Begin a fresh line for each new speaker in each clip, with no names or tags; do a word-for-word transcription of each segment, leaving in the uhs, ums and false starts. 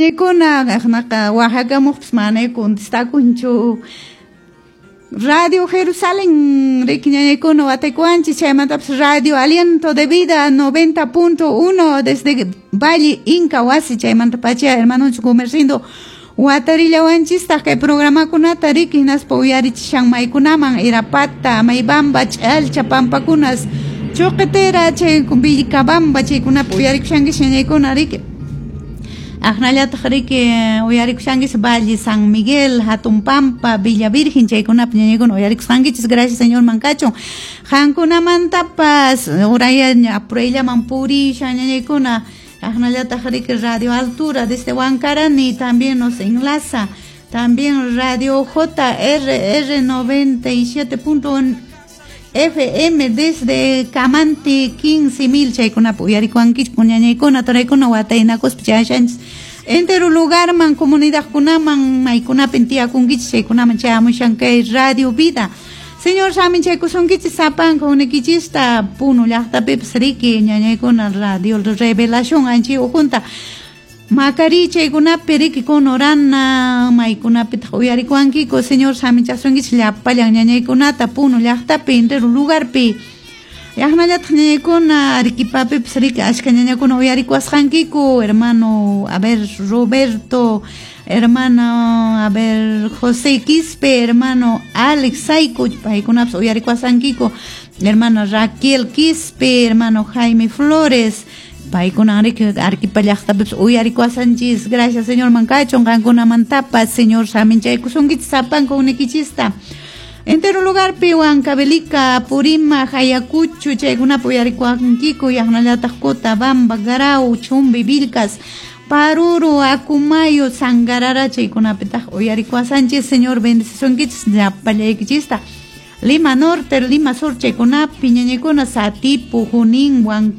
ñañaykuna aqnaqa waqhakamuqpas mana contestakunchu. Radio Jerusalén riki ñañaykuna wataykuwanchis, chaymantapas Radio Aliento de Vida noventa punto uno desde Valle Inca Wasi, chaymanta pacha hermanonchis Gumercindo watarillawanchistaq kay programakunata riki hinaspa uyarichishan maykunaman Irapata, Maybamba, Ch'alcha, Pampakunas, Chuqitera, chay Vilcabamba chaykunapi uyarikushankichis ñañaykuna riki. Aqnallataq riki uyarikushankichis Valle San Miguel, Hatun Pampa, Villa Virgen chaykunapi ñañaykuna uyarikusqankichis. Gracias Señor mankachun. Qankunamantapas urayaña apurayllaman purishan ñañaykuna. Aqnallataq riki Radio Altura desde Huancarani también nos enlaza. También Radio J R R noventa y siete punto uno F M desde Camanti quince mil chaykunapi uyarikuwankichis ñañaykuna turaykuna wataynakuspa chayashanchis entero lugarman comunidadkunaman maykunapin tiyakunkichis chaykunaman chayamushan kay Radio Vida. Señor saminchaykusunkichis sapanka unikichista Puno llaqtapipas riki ñañaykuna Radio Revelación anchi ujunta Macari chaykunapi riki Conorana maykunapitaq uyarikuwankiku. Señor saminchasunkichis llapallan ñañaykunata Puno llaqtapi entero lugarpi. Yaqnallataq ñañaykuna Arequipapipas riki achka ñañakuna uyarikuwasqankiku, hermano, a ver, Roberto, hermano, a ver, José Quispe, hermano Alex Saico, paykunapas uyarikuwasqankiku, hermana Raquel Quispe, hermano Jaime Flores, paykuna riki Arequipa llaqtapipas uyarikuwasanchis. Gracias Señor mankachun qankunamantapas. Señor saminchaykusunkichis sapanka unikichista. Entero lugarpi Huancavelica, Apurímac, Ayacucho, chaykunapi uyarikuwankiku, yaqnallataq Cotabamba, Grau, Chumbi, Vilcas, Paruro, Acumayo, Sangarara, chaykunapitaq uyarikuwasanchis. Señor bendecisunkichis llapallaykichista. Lima Norte, Lima Sur, chaykunapi ñañaykuna, Satipo, Junín, Huan,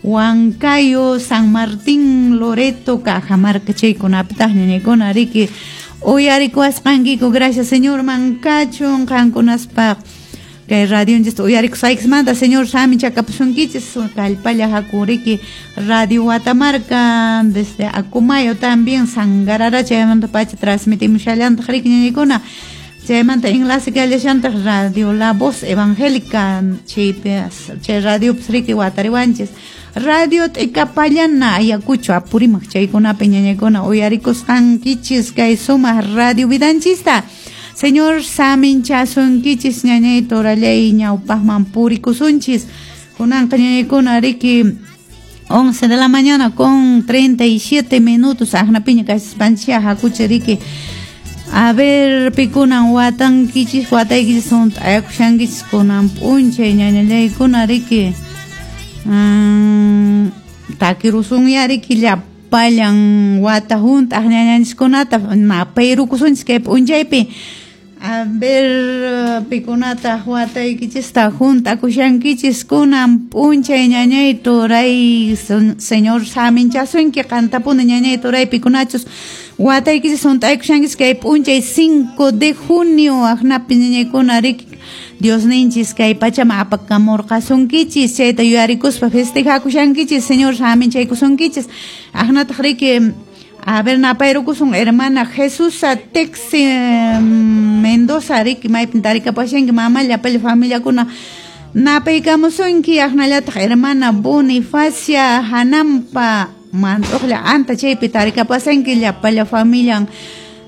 Huancayo, San Martín, Loreto, Cajamarca, chaykunapitaq ñañaykuna riki uyarikuwasqankiku. Gracias Señor mankachun qankunaspaq kay radionchista uyarikusqaykismanta. Señor saminchakapusunkichis kallpalla haku riki Radio Watamarca desde Acumayo también Sangarara chaymanta pacha transmitimushallantaq riki ñañaykuna. Chaymanta enlace kallashantaq Radio La Voz Evangélica chaypi chay radiopas riki watariwanchis. Radio T'ikapallana Ayacucho Apurímac chaykunapi ñañaykuna uyarikusqankichis kay sumaq radio vidanchista. Señor saminchasunkichis ñañay torallay ñawpaqman purikusunchis. Kunanqa ñañaykuna riki once de la mañana con treinta y siete minutos aqnapiña kasispanchis hakuchi riki. A ver, pikunan watankichis wataykichis hunt'ayakushankichis kunan p'unchay ñañallaykuna riki. Mm, takirusunya riki llapallan wata hunt'aq ñañanchiskunata napayrukusunchis kay p'unchaypi. A ver, pikunataq wataykichista hunt'akushankichis kunan p'unchay ñañay turay. Señor saminchasunki qantapuni ñañay turay pikunachus wataykichis hunt'aykushankichis kay p'unchay cinco de junio aqnapi ñañaykuna riki Dios ninchis kay pachaman apakamurqasunkichis chayta yuyarikuspa festejakushankichis. Señor saminchaykusunkichis. Aqnataq riki a ver napayrukusun hermana Jesusa Texe Mendoza riki maypin tarikapashanki mama llapalla familiakuna napaykamusunki. Aqnallataq hermana Bonifacia Hanampa mantuqlla anta chaypi tarikapasanki llapalla familian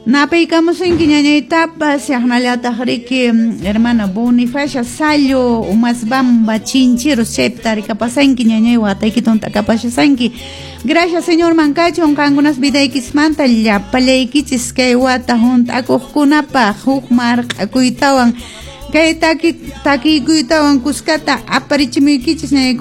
napaykamusunki ñañaytapas. Aqnallataq riki hermana Bonifacia Sallo Umasbamba Chincheros chaypi tarikapasanki ñañay wataykita hunt'akapashasanki. Gracias Señor mankachun qankunas vidaykismanta llapallaykichis kay wata hunt'akuqkunapaq huk marq'akuytawan kay taki takiykuytawan kuskata aparichimuykichis ñañaykuna.